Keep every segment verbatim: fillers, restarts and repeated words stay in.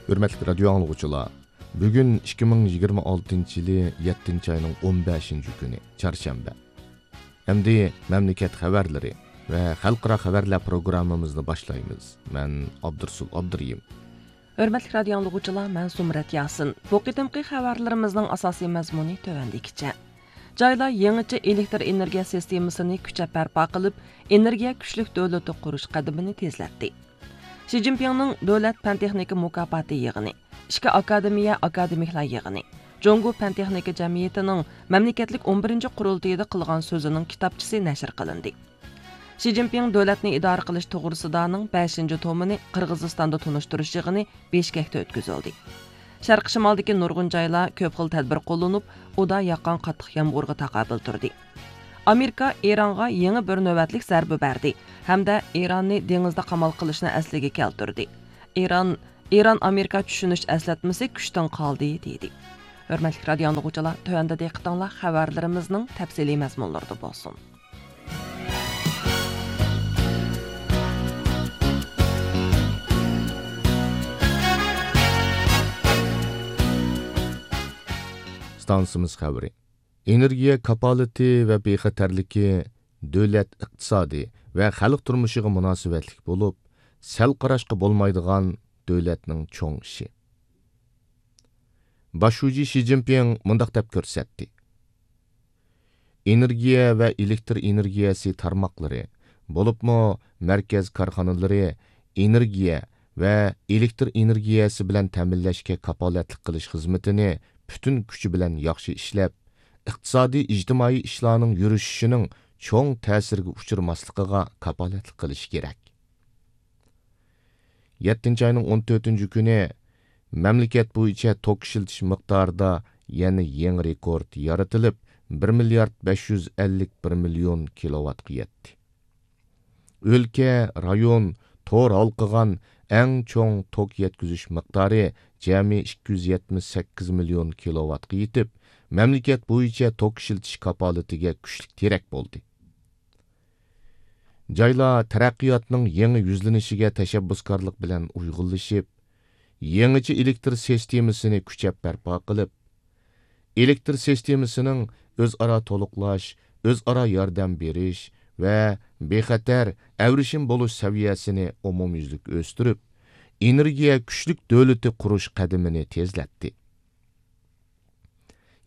ھۆرمەتلىك رادىيو ئاڭلىغۇچىلار، بۈگۈن ئىككى مىڭ يىگىرمە ئالتىنچى يىلى يەتتىنچى ئاينىڭ ئون بەشىنچى كۈنى، چارشەنبە. ئەمدى مەملىكەت خەۋەرلىرى ۋە خەلقئارا خەۋەرلەر پروگراممىمىزنى باشلايمىز. مەن ئابدۇرسۇل ئابدۇرېھىم. ھۆرمەتلىك رادىيو ئاڭلىغۇچىلار، مەن زۇمرەت ياسىن. بۇ قېتىمقى خەۋەرلىرىمىزنىڭ ئاساسىي مەزمۇنى تۆۋەندىكىچە. جايلار يېڭىچە ئېلېكتر ئېنېرگىيە سىستېمىسىنى كۈچەپ بەرپا قىلىپ، ئېنېرگىيە كۈچلۈك دۆلىتى قۇرۇش قەدىمىنى تېزلەتتى. شى جىنپىڭنىڭ دۆلەت پەن-تېخنىكا مۇكاپاتى يىغىنى، ئىككى ئاكادېمىيە ئاكادېمىكلار يىغىنى، جۇڭگو پەن-تېخنىكا جەمئىيىتىنىڭ مەملىكەتلىك ئون بىرىنچى قۇرۇلتىيىدا قىلغان سۆزىنىڭ كىتابچىسى نەشر قىلىندى. شى جىنپىڭ دۆلەتنى ئىدارە قىلىش توغرىسىدانىڭ بەشىنچى تومىنى قىرغىزىستاندا تونۇشتۇرۇش يىغىنى بىشكەكتە ئۆتكۈزۈلدى. شەرقىي شىمالدىكى نۇرغۇن جايلار كۆپ خىل تەدبىر قوللىنىپ، ئۇدا ياغقان قاتتىق يامغۇرغا تاقابىل تۇردى. ئامېرىكا ئىرانغا يېڭى بىر نۆۋەتلىك زەربە بەردى ھەمدە ئىراننى دېڭىزدا قامال قىلىشنى ئەسلىگە كەلتۈردى. ئىران، ئىران ئامېرىكا چۈشىنىش ئەسلەتمىسى كۈچتىن قالدى، دېدى. ھۆرمەتلىك رادىيو ئاڭلىغۇچىلار، تۆۋەندە دىققىتىڭلار خەۋەرلىرىمىزنىڭ تەپسىلىي مەزمۇنلىرىدا بولسۇن. ئىستانسىمىز خەۋىرى. ئېنېرگىيە كاپالىتى ۋە بىخەتەرلىكى دۆلەت ئىقتىسادى ۋە خەلق تۇرمۇشىغا مۇناسىۋەتلىك بولۇپ، سەل قاراشقا بولمايدىغان دۆلەتنىڭ چوڭ ئىشى. باش شۇجى شى جىنپىڭ مۇنداق دەپ كۆرسەتتى: ئېنېرگىيە ۋە ئېلېكتر ئېنېرگىيەسى تارماقلىرى، بولۇپمۇ مەركەز كارخانىلىرى ئېنېرگىيە ۋە ئېلېكتر ئېنېرگىيەسى بىلەن تەمىنلەشكە كاپالەتلىك قىلىش خىزمىتىنى پۈتۈن كۈچى بىلەن ياخشى ئىشلەپ، ئىقتىسادىي، ئىجتىمائىي ئىشلارنىڭ يۈرۈشۈشىنىڭ چوڭ تەسىرگە ئۇچرىماسلىقىغا كاپالەتلىك قىلىشى كېرەك. يەتتىنچى ئاينىڭ ئون تۆتىنچى كۈنى مەملىكەت بويىچە توك ئىشلىتىش مىقدارىدا يەنە يېڭى رېكورت يارىتىلىپ، بىر مىليارد بەش يۈز ئەللىك بىر مىليون كىلوۋاتقا يەتتى. ئۆلكە، رايون، تور ھالقىغان ئەڭ چوڭ توك يەتكۈزۈش مىقدارى جەمئىي ئىككى يۈز يەتمىش سەككىز مىليون كىلوۋاتقا يېتىپ، مەملىكەت بويىچە توك ئىشلىتىش كاپالىتىگە كۈچلۈك تىرەك بولدى. جايلار تەرەققىياتنىڭ يېڭى يۈزلىنىشىگە تەشەببۇسكارلىق بىلەن ئۇيغۇنلىشىپ، يېڭىچە ئېلېكتر سىستېمىسىنى كۈچەپ بەرپا قىلىپ، ئېلېكتر سىستېمىسىنىڭ ئۆزئارا تولۇقلاش، ئۆزئارا ياردەم بېرىش ۋە بىخەتەر، ئەۋرىشىم بولۇش سەۋىيەسىنى ئومۇميۈزلۈك ئۆستۈرۈپ، ئېنېرگىيە كۈچلۈك دۆلىتى قۇرۇش قەدىمىنى تېزلەتتى.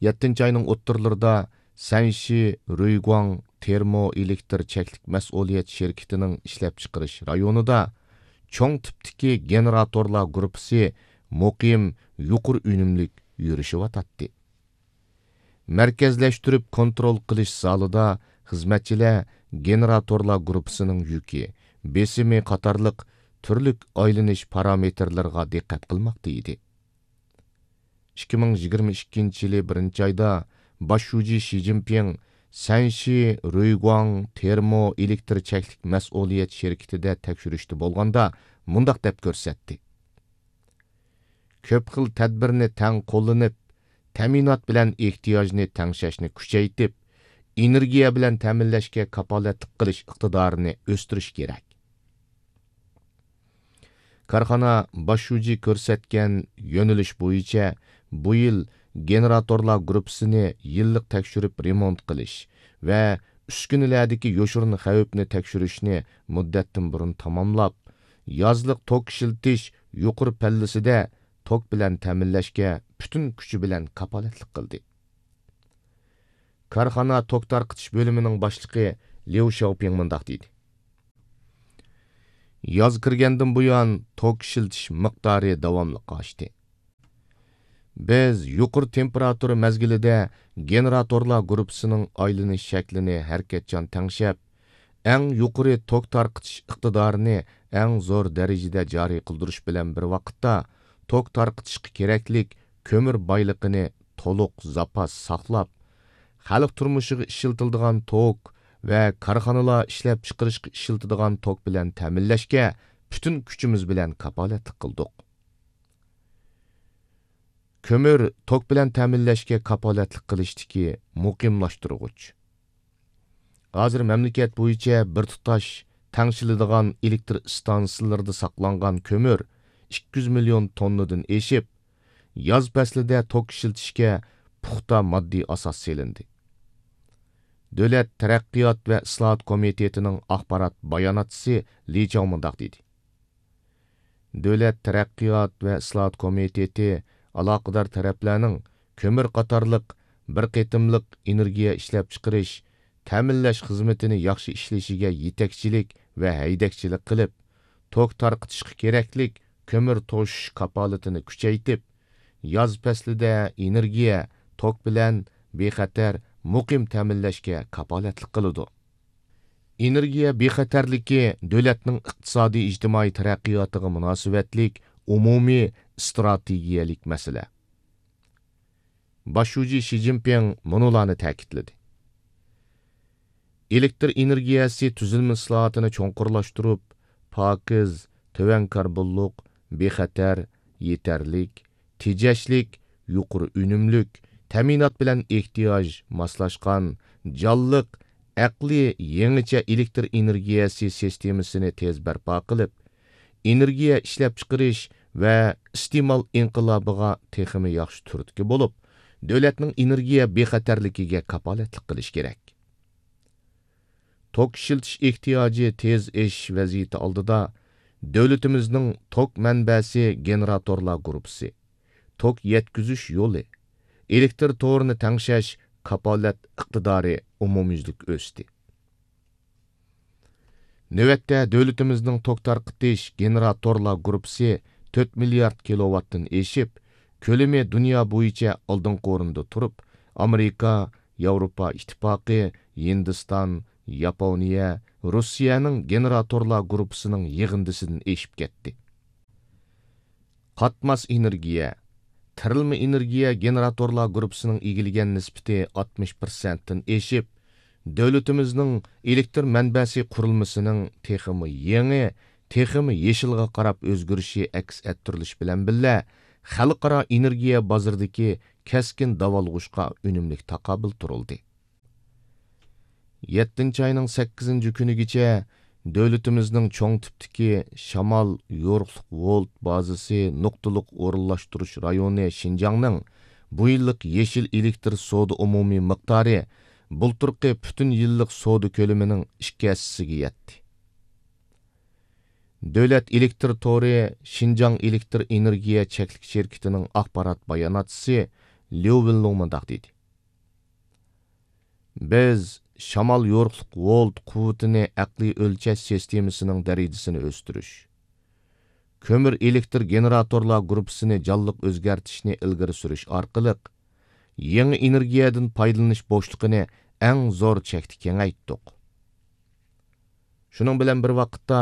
يەتتىنچى ئاينىڭ ئوتتۇرىلىرىدا سەنشى رۇيگۇاڭ تېرمو ئېلېكتر چەكلىك مەسئۇلىيەت شىركىتىنىڭ ئىشلەپچىقىرىش رايونىدا چوڭ تىپتىكى گېنېراتورلار گۇرۇپپىسى مۇقىم يۇقىرى ئۈنۈملۈك يۈرۈشۈۋاتاتتى. مەركەزلەشتۈرۈپ كونترول قىلىش زالىدا خىزمەتچىلەر گېنېراتورلار گۇرۇپپىسىنىڭ يۈكى، بېسىمى قاتارلىق تۈرلۈك ئايلىنىش پارامېتىرلىرىغا دىققەت قىلماقتا ئىدى. ئىككى مىڭ يىگىرمە ئىككىنچى يىلى بىرىنچى ئايدا باش شۇجى شى جىنپىڭ سەنشى رۇيگۇاڭ تېرمو ئېلېكتر چەكلىك مەسئۇلىيەت شىركىتىدە تەكشۈرۈشتە بولغاندا مۇنداق دەپ كۆرسەتتى: كۆپ خىل تەدبىرنى تەڭ قوللىنىپ، تەمىنات بىلەن ئېھتىياجنى تەڭشەشنى كۈچەيتىپ، ئېنېرگىيە بىلەن تەمىنلەشكە كاپالەتلىك قىلىش ئىقتىدارىنى ئۆستۈرۈش كېرەك. كارخانا باش شۇجى كۆرسەتكەن يۆنىلىش بويىچە بۇ يىل گېنېراتورلار گۇرۇپپىسىنى يىللىق تەكشۈرۈپ رېمونت قىلىش ۋە ئۈسكۈنىلەردىكى يوشۇرۇن خەۋپنى تەكشۈرۈشنى مۇددەتتىن بۇرۇن تاماملاپ، يازلىق توك ئىشلىتىش يۇقىرى پەللىسىدە توك بىلەن تەمىنلەشكە پۈتۈن كۈچى بىلەن كاپالەتلىك قىلدى. كارخانا توك تارقىتىش بۆلۈمىنىڭ باشلىقى ليۇ شياۋپىڭ مۇنداق دېدى: ياز كىرگەندىن بۇيان توك ئىشلىتىش مىقدارى داۋاملىق ئاشتى. بىز يۇقىرى تېمپېراتۇرا مەزگىلىدە گېنېراتورلار گۇرۇپپىسىنىڭ ئايلىنىش شەكلىنى ھەرىكەتچان تەڭشەپ، ئەڭ يۇقىرى توك تارقىتىش ئىقتىدارىنى ئەڭ زور دەرىجىدە جارى قىلدۇرۇش بىلەن بىر ۋاقىتتا، توك تارقىتىشقا كېرەكلىك كۆمۈر بايلىقىنى تولۇق زاپاس ساقلاپ، خەلق تۇرمۇشىغا ئىشلىتىلىدىغان توك ۋە كارخانىلار ئىشلەپچىقىرىشقا ئىشلىتىدىغان توك بىلەن تەمىنلەشكە پۈتۈن كۈچىمىز بىلەن كاپالەتلىك قىلدۇق. كۆمۈر توك بىلەن تەمىنلەشكە كاپالەتلىك قىلىشتىكى مۇقىملاشتۇرغۇچ. ھازىر مەملىكەت بويىچە بىر تۇتاش تەڭشىلىدىغان ئېلېكتر ئىستانسىلىرىدا ساقلانغان كۆمۈر ئىككى يۈز مىليون توننىدىن ئېشىپ، ياز پەسلىدە توك ئىشلىتىشكە پۇختا ماددىي ئاساس سېلىندى. دۆلەت تەرەققىيات ۋە ئىسلاھات كومىتېتىنىڭ ئاخبارات باياناتچىسى لى چاۋ مۇنداق دېدى: دۆلەت تەرەققىيات ۋە ئىسلاھات كومىتېتى ئالاقىدار تەرەپلەرنىڭ كۆمۈر قاتارلىق بىر قېتىملىق ئېنېرگىيە ئىشلەپچىقىرىش، تەمىنلەش خىزمىتىنى ياخشى ئىشلىشىگە يېتەكچىلىك ۋە ھەيدەكچىلىك قىلىپ، توك تارقىتىشقا كېرەكلىك كۆمۈر توشۇش كاپالىتىنى كۈچەيتىپ، ياز پەسلىدە ئېنېرگىيە، توك بىلەن بىخەتەر، مۇقىم تەمىنلەشكە كاپالەتلىك قىلىدۇ. ئېنېرگىيە بىخەتەرلىكى دۆلەتنىڭ ئىقتىسادىي ئىجتىمائىي تەرەققىياتىغا مۇناسىۋەتلىك ئومۇمىي ئىستراتېگىيەلىك مەسىلە. باش شۇجى شى جىنپىڭ مۇنۇلارنى تەكىتلىدى: ئېلېكتر ئېنېرگىيەسى تۈزۈلمە ئىسلاھاتىنى چوڭقۇرلاشتۇرۇپ، پاكىز، تۆۋەن كاربونلۇق، بىخەتەر، يېتەرلىك، تېجەشلىك، يۇقىرى ئۈنۈملۈك، تەمىنات بىلەن ئېھتىياج ماسلاشقان، جانلىق، ئەقلىي، يېڭىچە ئېلېكتر ئېنېرگىيەسى سىستېمىسىنى تېز بەرپا قىلىپ، ئېنېرگىيە ئىشلەپچىقىرىش ۋە ئىستېمال ئىنقىلابىغا تېخىمۇ ياخشى تۈرتكە بولۇپ، دۆلەتنىڭ ئېنېرگىيە بىخەتەرلىكىگە كاپالەتلىك قىلىش كېرەك. توك ئىشلىتىش ئېھتىياجى تېز ئېشىش ۋەزىيىتى ئالدىدا، دۆلىتىمىزنىڭ توك مەنبەسى گېنېراتورلار گۇرۇپپىسى، توك يەتكۈزۈش يولى، ئېلېكتر تورىنى تەڭشەش كاپالەت ئىقتىدارى ئومۇميۈزلۈك ئۆستى. نۆۋەتتە دۆلىتىمىزنىڭ توك تارقىتىش گېنېراتورلار گۇرۇپپىسى تۆت مىليارد كىلوۋاتتىن ئېشىپ، كۆلىمى دۇنيا بويىچە ئالدىنقى ئورۇندا تۇرۇپ، ئامېرىكا، ياۋروپا ئىتتىپاقى، ھىندىستان، ياپونىيە، روسىيەنىڭ گېنېراتورلار گۇرۇپپىسىنىڭ يىغىندىسىدىن ئېشىپ كەتتى. قاتماس ئېنېرگىيە، تىرىلما ئېنېرگىيە گېنېراتورلار گۇرۇپپىسىنىڭ ئىگىلىگەن نىسبىتى ئاتمىش پىرسەنتتىن ئېشىپ، دۆلىتىمىزنىڭ ئېلېكتر مەنبەسى قۇرۇلمىسىنىڭ تېخىمۇ يېڭى، تېخىمۇ يېشىلغا قاراپ ئۆزگىرىشى ئەكس ئەتتۈرۈلۈش بىلەن بىللە، خەلقئارا ئېنېرگىيە بازىرىدىكى كەسكىن داۋالغۇشقا ئۈنۈملۈك تاقابىل تۇرۇلدى. يەتتىنچى ئاينىڭ سەككىزىنچى كۈنىگىچە دۆلىتىمىزنىڭ چوڭ تىپتىكى شامال يورۇقلۇق ۋولت بازىسى نۇقتىلىق ئورۇنلاشتۇرۇش رايونى شىنجاڭنىڭ بۇ يىللىق يېشىل ئېلېكتر سودا ئومۇمىي مىقدارى بۇلتۇرقى پۈتۈن يىللىق سودا كۆلىمىنىڭ ئىككى ھەسسىسىگە يەتتى. دۆلەت ئېلېكتر تورى شىنجاڭ ئېلېكتر ئېنېرگىيە چەكلىك شىركىتىنىڭ ئاخبارات باياناتچىسى ليۇ ۋېنلۇڭ مۇنداق دېدى: بىز شامال يورۇقلۇق ۋولت قۇۋۋىتىنى ئەقلىي ئۆلچەش سىستېمىسىنىڭ دەرىجىسىنى ئۆستۈرۈش، كۆمۈر ئېلېكتر گېنېراتورلار گۇرۇپپىسىنى جانلىق ئۆزگەرتىشنى ئىلگىرى سۈرۈش ئارقىلىق، يېڭى ئېنېرگىيەدىن پايدىلىنىش بوشلۇقىنى ئەڭ زور چەكتە كېڭەيتتۇق. شۇنىڭ بىلەن بىر ۋاقىتتا،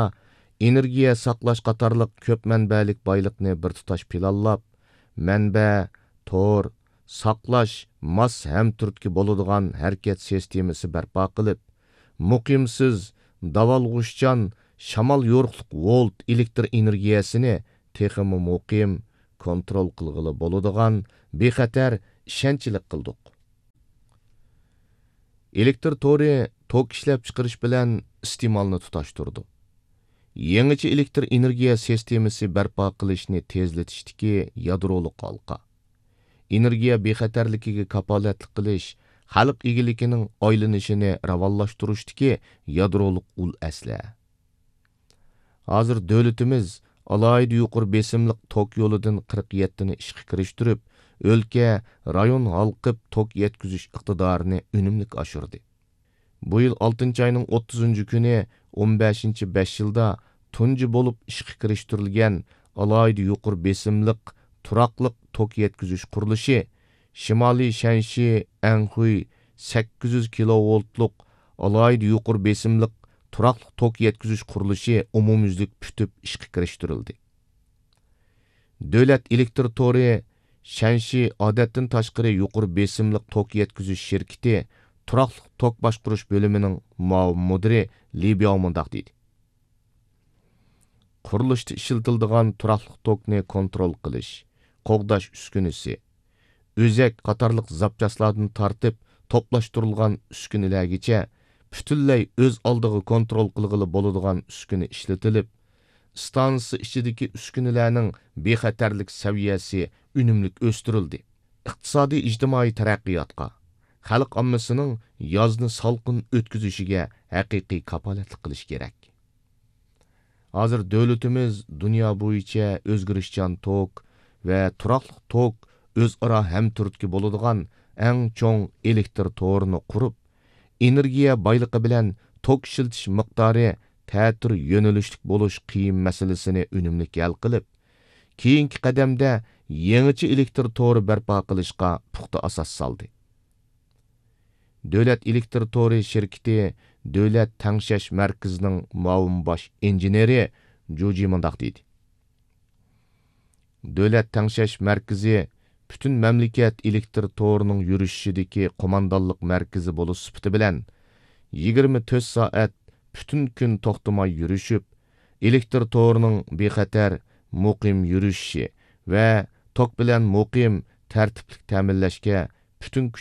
ئېنېرگىيە ساقلاش قاتارلىق كۆپ مەنبەلىك بايلىقنى بىر تۇتاش پىلانلاپ، مەنبە، تور، ساقلاش، ماس ھەمتۈرتكە بولىدىغان ھەرىكەت سىستېمىسى بەرپا قىلىپ، مۇقىمسىز، داۋالغۇشچان، شامال يورۇقلۇق ۋولت ئېلېكتر ئېنېرگىيەسىنى تېخىمۇ مۇقىم، كونترول قىلغىلى بولىدىغان، بىخەتەر، ئىشەنچلىك قىلدۇق. ئېلېكتر تورى توك ئىشلەپچىقىرىش بىلەن ئىستېمالنى تۇتاشتۇرىدۇ. يېڭىچە ئېلېكتر ئېنېرگىيە سىستېمىسى بەرپا قىلىشنى تېزلىتىشتىكى يادرولۇق ھالقا، ئېنېرگىيە بىخەتەرلىكىگە كاپالەتلىك قىلىش، خەلق ئىگىلىكىنىڭ ئايلىنىشىنى راۋانلاشتۇرۇشتىكى يادرولۇق ئۇل ئەسلىھە. ھازىر دۆلىتىمىز ئالاھىدە يۇقىرى بېسىملىق توك يولىدىن قىرىق يەتتىنى ئىشقا كىرىشتۈرۈپ، ئۆلكە، رايون ھالقىپ توك يەتكۈزۈش ئىقتىدارىنى ئۈنۈملۈك ئاشۇردى. بۇ يىل ئالتىنچى ئاينىڭ ئوتتۇزىنچى كۈنى ئون بەشىنچى بەش يىلدا تۇنجى بولۇپ ئىشقا كىرىشتۈرۈلگەن ئالاھىدە يۇقىرى بېسىملىق تۇراقلىق توك يەتكۈزۈش قۇرۇلۇشى شىمالىي شەنشى ئەنخۇي سەككىز يۈز كىلوۋولتلۇق ئالاھىدە يۇقىرى بېسىملىق تۇراقلىق توك يەتكۈزۈش قۇرۇلۇشى ئومۇميۈزلۈك پۈتۈپ ئىشقا كىرىشتۈرۈلدى. دۆلەت ئېلېكتر تورى شەنشى ئادەتتىن تاشقىرى يۇقىرى بېسىملىق توك يەتكۈزۈش شىركىتى تۇراقلىق توك باشقۇرۇش بۆلۈمىنىڭ مۇئاۋىن مۇدىرى لى بياۋ مۇنداق دېدى: قۇرۇلۇشتا ئىشلىتىلىدىغان تۇراقلىق توكنى كونترول قىلىش، قوغداش ئۈسكۈنىسى، ئۆزەك قاتارلىق زاپچاسلاردىن تارتىپ توپلاشتۇرۇلغان ئۈسكۈنىلەرگىچە پۈتۈنلەي ئۆز ئالدىغا كونترول قىلغىلى بولىدىغان ئۈسكۈنە ئىشلىتىلىپ، ئىستانسىسى ئىچىدىكى ئۈسكۈنىلەرنىڭ بىخەتەرلىك سەۋىيەسى ئۈنۈملۈك ئۆستۈرۈلدى. ئىقتىسادىي ئىجتىمائىي تەرەققىياتقا، خەلق ئاممىسىنىڭ يازنى سالقىن ئۆتكۈزۈشىگە ھەقىقىي كاپالەتلىك قىلىش كېرەك. ھازىر دۆلىتىمىز دۇنيا بويىچە ئۆزگىرىشچان توك ۋە تۇراقلىق توك ئۆزئارا ھەمتۈرتكە بولىدىغان ئەڭ چوڭ ئېلېكتر تورىنى قۇرۇپ، ئېنېرگىيە بايلىقى بىلەن توك ئىشلىتىش مىقدارى تەتۈر يۆنىلىشلىك بولۇش قىيىن مەسىلىسىنى ئۈنۈملۈك ھەل قىلىپ، كېيىنكى قەدەمدە يېڭىچە ئېلېكتر تورى بەرپا قىلىشقا پۇختا ئاساس سالدى. دۆلەت ئېلېكتر تورى شىركىتى دۆلەت تەڭشەش مەركىزىنىڭ مۇئاۋىن باش ئىنژېنېرى جۇجى مۇنداق دېدى: دۆلەت تەڭشەش مەركىزى پۈتۈن مەملىكەت ئېلېكتر تورىنىڭ يۈرۈشۈشىدىكى قوماندانلىق مەركىزى بولۇش سۈپىتى بىلەن، يىگىرمە تۆت سائەت پۈتۈن كۈن توختىماي يۈرۈشۈپ، ئېلېكتر تورىنىڭ بىخەتەر، مۇقىم يۈرۈشۈشى ۋە توك بىلەن مۇقىم، تەرتىپلىك تەمىنلەشكە پۈتۈن كۈچ